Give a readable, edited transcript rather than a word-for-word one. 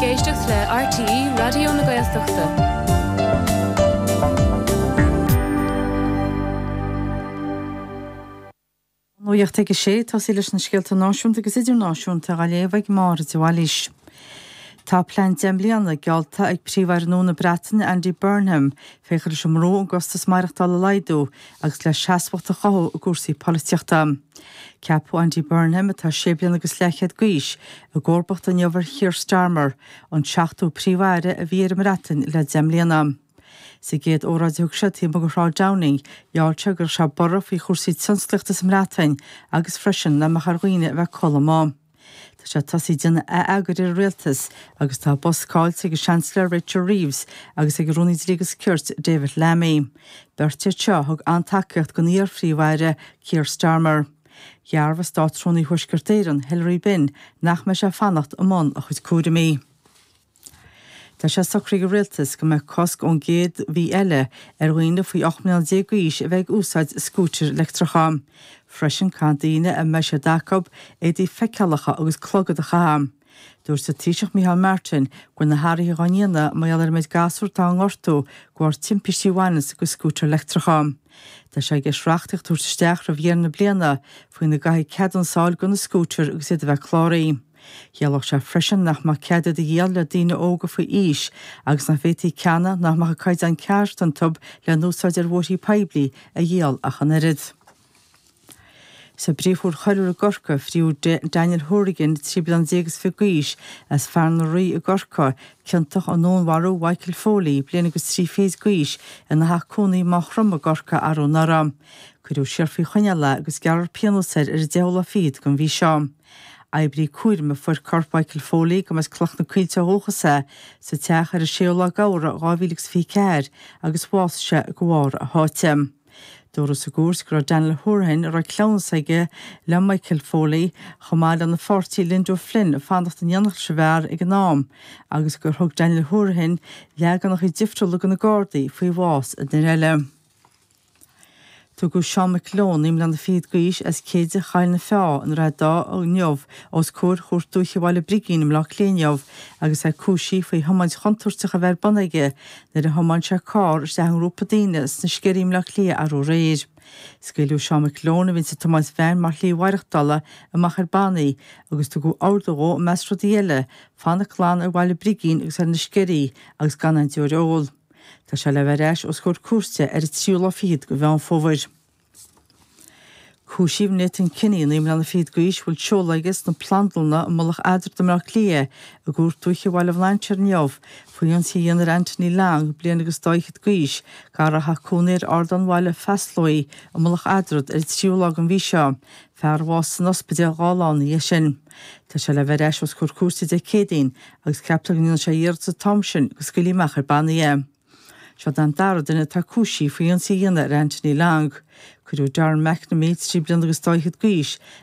ag éisteacht le RTÉ Raidió na Gaeltachta. Nuacht ag a sé, tosaí leis na scéalta náisiúnta agus idirnáisiúnta á léamh ag Máire de Bhailís. Tá plean 10 mbliana geallta ag Príomh-Aire nua na Breataine Andy Burnham fé chur leis an mbrú an gcostas maireachtála a laghdú agus le seasmhacht a chothú i gcúrsaí polaitíochta. Ceapadh Andy Burnham, atá sé bliana agus leathchéad d'aois, i gcomharbacht inniu ar Keir Starmer, an seachtú Príomh-Aire a bhí ar an mBreatain le 10 mbliana. Sa gcéad óráid a thug sé taobh amuigh de Shráid Downing, gheall sé go gcuirfeadh sé borradh faoi chúrsaí tionsclaíochta sa mBreatain agus freisin nach mbeadh ar dhaoine a bheith ag codladh amuigh. Tá sé tosaithe ag déanamh ath-eagair ar an rialtas agus tá a bpost caillte ag an Seansailéir Rachel Reeves agus ag an Rúnaí Dlí agus Cirt David Lammy. Beirt iad seo a thug an-tacaíocht don iar-Phríomh-Aire Keir Starmer. Dhearbhaigh Státrúnaí Thuaisceart Éireann, Hilary Benn, nach mbeidh sé ag fanacht i mbun a chuid cúraimí. Tá sé socraithe ag an Rialtas go mbeidh cosc ón gcéad mhí eile ar dhaoine faoi 18 mbliana d'aois a bheith ag úsáid scútair leictreacha. Freisin, caithfidh daoine a mbeidh siad acu éadaí feiceálacha agus clogad a chaitheamh. Dúirt an Taoiseach Micheál Martin go bhfuil na hathruithe dhá ndéanamh mar gheall ar an méid gasúr atá á ngortú de bharr timpistí a bhaineanns go scútair leictreacha. Tá sé i gceist reachtaíocht a thabhairt isteach roimh dheireadh na bliana faoina gcaithfidh ceadúnas a fháil do na scútair agus iad a bheith cláraithe. Chiallódh sé freisin nach mbeadh cead iad a dhíol le daoine óga faoi aois agus nach bhféadfaí ceanna nach mbeadh an caighdeán ceart iontu le n-úsáid ar bhóithrí poiblí a dhíol ach an oiread. Sa bPríomh-Chúirt Choiriúil i gCorcaigh, fríodh Daniel Hourigan, 23 bliana is fiche d'aois, as Fearann an Rí i gCorcaigh, ciontach i ndúnmharú Mhichael Foley, bliain agus trí fichid d'aois, ina theach cónaí i Maigh Chromtha i gCorcaigh arú anuraidh. Cuireadh siar faoi choinneáil é agus gearrfar pionós air ar an deichiú lá fichead den mhí seo. Oibrí cúraim a fuair corp Mhichael Foley, gurb as Cloich na Coillte ó dhúchas é, sa teach ar an séú lá d'Fheabhra 2024 agus bhásaigh sé de bharr a sháite. Dúradh sa gcúirt go raibh Daniel Hourihane, a raibh cleamhnas aige le Michael Foley, chomh maith lena pháirtí Linda O'Flynn, ag fanacht in éineacht leis an bhfear ag an am agus gur thug Daniel Hourihane leaganacha difriúla do na Gardaí faoi bhás an fhir eile. Tugadh Seán McGlone, 9 mbliana fichead d'aois, as Céide Choill na Feá i nDroichead Átha inniu os comhair Chúirt Dúiche Bhaile Brigín i mBleá Cliath inniu agus é cúisithe faoi thiomáint chontúirteach a bheith ar bun aige nuair a thiomáin sé carr isteach i ngrúpa daoine sna Sceirí i mBleá Cliath arú aréir. Scaoileadh Seán McGlone, a bhíonns ag tiomáint veain mar shlí mhaireachtála, amach ar bannaí agus tugadh ordú dhó, i measc rudaí eile, fanacht glan ar Bhaile Brigín agus ar na Sceirí agus gan aon deoir a ól. Tá sé le bheith ar ais os comhair cúirte ar an tríú lá fichead de Mheán Fómhair. Cúisíodh Nathan Kinney, 9 mbliana fichead d'aois, a bhfuil seoladh aige sna Plandlanna i Mullach Eadrad i mBleá Cliath, i gCúirt Dúiche Bhaile Bhlainséir inniu, faoi ionsaí a dhéanamh ar Anthony Long, bliain agus dá fhichead d'aois, gar a raibh cónaí air ar Ardán Bhaile Pheaslóigh i Mullach Eadrad ar an tríú lá den mhí seo, fear a bhásaigh san ospidéal 2 lá ina dhiaidh sin. Tá sé le bheith ar ais os comhair cúirte Dé Céadaoin agus ceaptar go ndéanfaidh sé iarratas an t-am sin go scaoilfí amach ar bannaí é. Seo an dara duine atá cúisithe faoi ionsaí a dhéanamh ar Anthony Long. Cuireadh Darren McNamee, 3 bliana agus dá fhichead d'aois,